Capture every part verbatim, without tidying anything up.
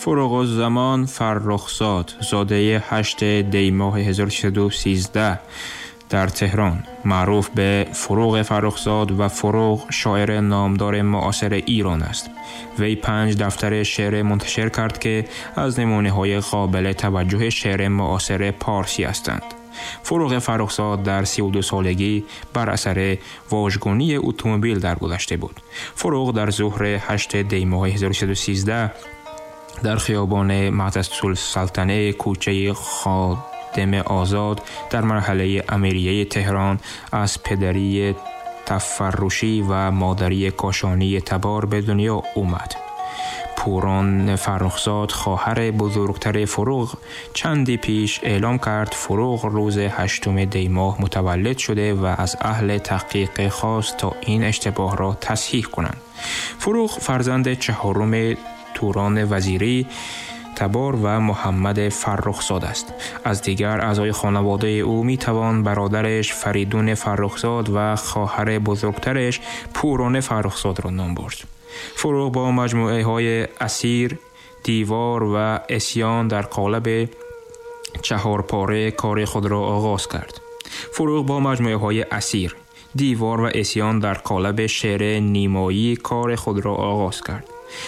Фурӯғуззамон Фаррухзод, зодаи ҳашт دی ماه هزار و سیصد و سیزده در تهران، معروف به فروغ فرخزاد و فروغ، شاعر نامدار معاصر ایران است. وی پنج دفتر شعر منتشر کرد که از نمونه‌های قابل توجه شعر معاصر پارسی هستند. فروغ فرخزاد در سی و دو سالگی بر اثر واژگونی اتومبیل درگذشته بود. فروغ در ظهر هشت دی ماه هزار و سیصد و سیزده در خیابان معتضدالسلطنه، کوچه خادم آزاد در مرحله امیریه تهران از پدری تفرشی و مادری کاشانی تبار به دنیا اومد. پوران فرخزاد، خواهر بزرگتر فروغ، چندی پیش اعلام کرد فروغ روز هشتم دی ماه متولد شده و از اهل تحقیق خواست تا این اشتباه را تصحیح کنند. فروغ فرزند چهارم توران وزیری تبار و محمد فرخزاد است. از دیگر اعضای خانواده او می توان برادرش فریدون فرخزاد و خواهر بزرگترش پوران فرخزاد را نام برد. فروغ با مجموعه های اسیر، دیوار و عصیان در قالب چهار پاره کار خود را آغاز کرد. فروغ با مجموعه های اسیر، دیوار و عصیان در قالب شعر نیمایی کار خود را آغاز کرد.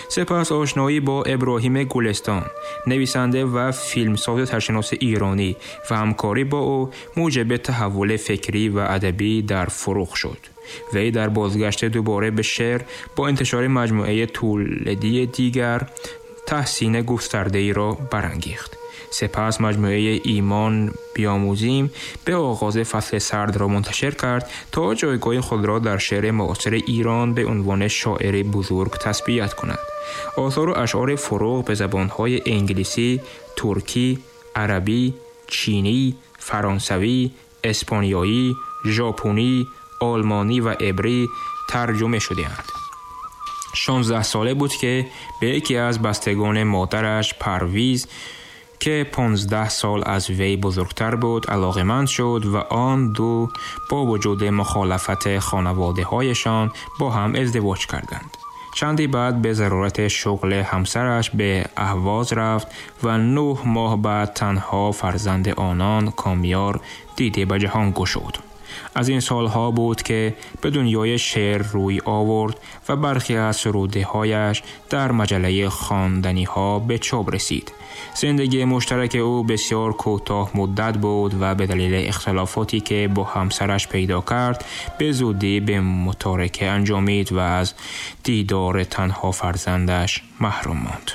سپس آشنایی با ابراهیم گلستان، نویسنده و فیلمساز سرشناس ایرانی، و همکاری با او موجب تحول فکری و ادبی در فروغ شد. وی در بازگشت دوباره به شعر با انتشار مجموعه تولدی دیگر تحسین گسترده‌ای را برانگیخت. سپس مجموعه ایمان بیاموزیم به آغاز فصل سرد را منتشر کرد تا جایگاه خود را در شعر معاصر ایران به عنوان شاعر بزرگ تثبیت کند. آثار و اشعار فروغ به زبان‌های انگلیسی، ترکی، عربی، چینی، فرانسوی، اسپانیایی، ژاپنی، آلمانی و عبری ترجمه شده‌اند. شانزده ساله بود که به یکی از بستگان مادرش پرویز که پانزده سال از وی بزرگتر بود علاقه‌مند شد و آن دو با وجود مخالفت خانواده‌هایشان با هم ازدواج کردند. چندی بعد به ضرورت شغل همسرش به اهواز رفت و نه ماه بعد تنها فرزند آنان کامیار دیده به جهان گشود. از این سالها بود که به دنیای شعر روی آورد و برخی از سروده‌هایش در مجله خواندنی‌ها به چاپ رسید. زندگی مشترک او بسیار کوتاه مدت بود و به دلیل اختلافاتی که با همسرش پیدا کرد به زودی به متارکه انجامید و از دیدار تنها فرزندش محروم ماند.